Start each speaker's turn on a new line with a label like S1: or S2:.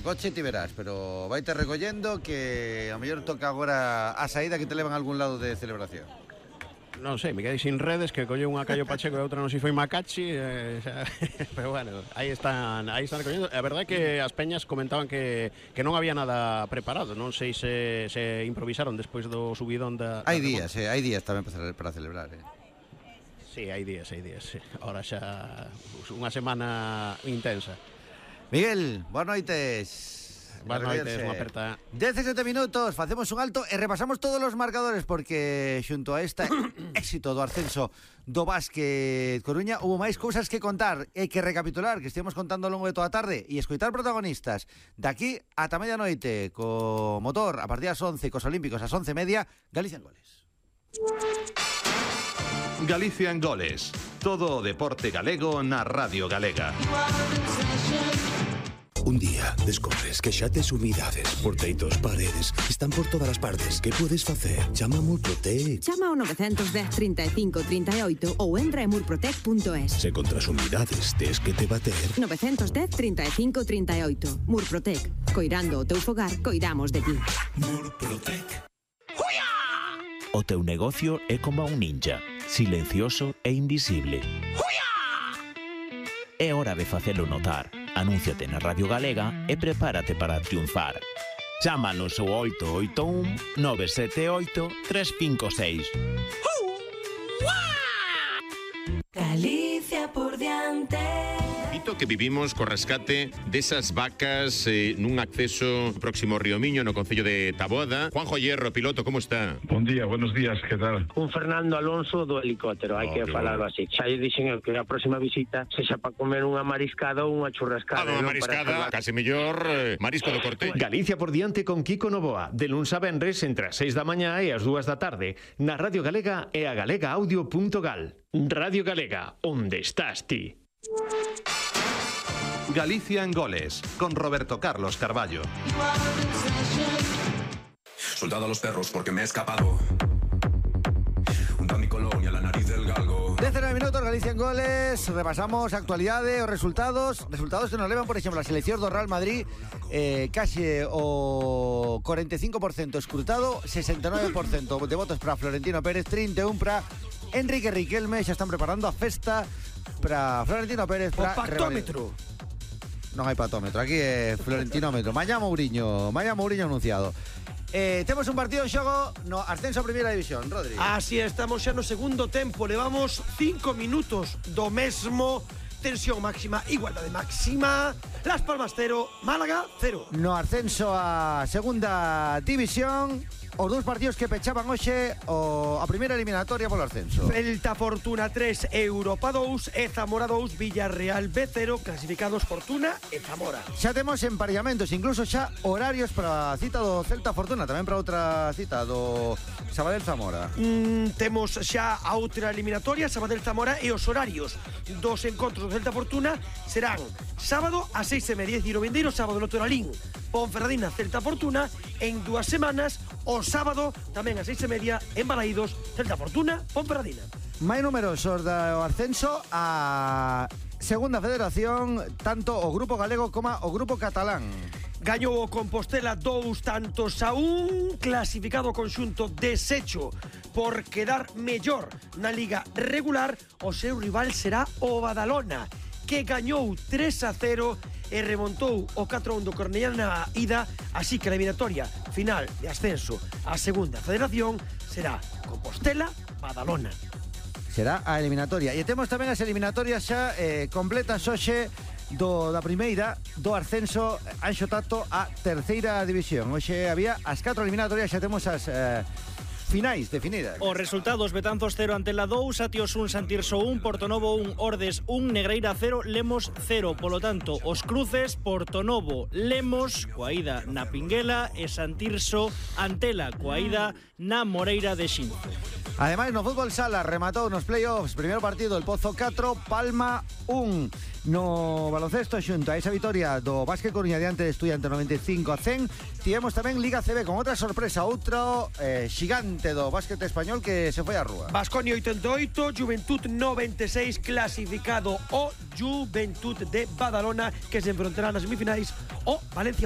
S1: coche ti verás, pero vaite recollendo que a mellor toca agora a saída que te levan a algún lado de celebración.
S2: Non sei, me quedei sin redes, que colleu unha Cayo Pacheco e outra non si foi Macachi, pero bueno, aí están recollendo. A verdade é que as peñas comentaban que non había nada preparado, non sei se improvisaron despois do subidón da...
S1: Hai días tamén para celebrar,
S2: Sí, hai días, sí. Ahora xa unha semana intensa.
S1: Miguel, boas noites.
S2: Boas noites, unha aperta.
S1: 17 minutos, facemos un alto e repasamos todos os marcadores porque xunto a este éxito do ascenso do Básquet Coruña houve máis cousas que contar e que recapitular, que estivemos contando ao longo de toda a tarde e escoitar protagonistas daqui ata medianoite co motor a partir das 11 cos Olímpicos ás 11:30, Galicia en Goles.
S3: Galicia en Goles, todo o deporte galego na Radio Galega.
S4: Un día descobres que xa tes humidades, porteitos, paredes, están por todas as partes. Que podes facer? Chama a Murprotec.
S5: Chama ao 910 35 38 ou entra en murprotec.es.
S4: Se contra as humidades tes que te bater.
S5: 910 35 38. Murprotec. Coirando o teu fogar, coidamos de ti.
S4: Murprotec.
S6: O teu negocio é como un ninja, silencioso e invisible. É hora de facelo notar. Anúnciate na Radio Galega e prepárate para triunfar. Chámanos ao 881 978 356.
S7: Galicia por diante.
S8: Dito que vivimos co rescate desas vacas nun acceso próximo ao Río Miño no concello de Taboada. Juanjo Hierro, piloto, como está?
S9: Bon día, buenos días, que tal?
S10: Un Fernando Alonso do helicóptero, hai que falarlo así. Xa lle dixen que a próxima visita sexa para comer unha mariscada ou unha churrascada.
S8: Unha mariscada, case mellor marisco do Corte.
S11: Galicia por diante con Kiko Novoa, de luns a venres entre as 6 da mañá e as 2 da tarde, na Radio Galega e a galegaaudio.gal. Radio Galega, onde estás ti?
S3: Galicia en Goles, con Roberto Carlos Carballo.
S12: Soldado a los perros porque me he escapado. Unta mi colonia, la nariz del galgo.
S1: 19 minutos, Galicia en Goles. Repasamos a actualidade, os resultados que nos levan, por exemplo, a selección do Real Madrid, case o 45% escrutado, 69% de votos para Florentino Pérez, 31 para Enrique Riquelme. Xa están preparando a festa para Florentino Pérez.
S13: O pactómetro.
S1: Non hai patómetro, aquí é Florentinómetro. Mañá Mourinho anunciado. Temos un partido en xogo no ascenso a Primeira División, Rodri.
S13: Así estamos xa no segundo tempo. Levamos 5 minutos do mesmo. Tensión máxima, igualdade máxima. Las Palmas 0, Málaga 0.
S1: No ascenso a Segunda División, os dous partidos que pechaban hoxe a primeira eliminatoria polo ascenso.
S13: Celta Fortuna 3, Europa 2 e Zamora 2, Villarreal B0, clasificados Fortuna e Zamora.
S1: Xa temos emparellamentos, incluso xa horarios para a cita do Celta Fortuna, tamén para outra cita do Sabadell Zamora.
S13: Temos xa a outra eliminatoria, Sabadell Zamora, e os horarios dos encontros do Celta Fortuna serán sábado a 6:30, e o vindeiro sábado no Toralín, Ponferradina Celta Fortuna, en 2 semanas, o sábado tamén a 6:30 en Balaídos, Celta Fortuna, Ponferradina.
S1: Máis numerosos do ascenso a Segunda Federación, tanto o grupo galego como o grupo catalán.
S13: Gañou o Compostela 2-1, clasificado o conxunto desecho por quedar mellor na liga regular. O seu rival será o Badalona, que gañou 3-0 e remontou o 4-1 do Cornellá na ida, así que a eliminatoria final de ascenso á Segunda Federación será Compostela-Badalona.
S1: Será a eliminatoria. E temos tamén as eliminatorias xa completas hoxe da primeira do ascenso Anxo Tato a Terceira División. Hoxe había as 4 eliminatorias, xa temos as finais definidas.
S14: Os resultados: Betanzos 0 Antela 2, Atios 1 Santirso 1, Portonovo 1 Ordes 1, Negreira 0 Lemos 0. Polo tanto, os cruces: Portonovo Lemos coa ida na Pinguela e Santirso Antela coa ida na Moreira de Xinzo.
S1: Ademais, no fútbol sala rematou nos playoffs, primeiro partido el Pozo 4, Palma 1. No baloncesto, xunto a esa vitoria do Básquet Coruña diante de Estudiante 95-100, tivemos tamén Liga CB con outra sorpresa, outro xigante do básquet español que se foi á rúa.
S13: Baskonia 88, Juventud 96, clasificado o Juventud de Badalona, que se enfrontará nas semifinais o Valencia.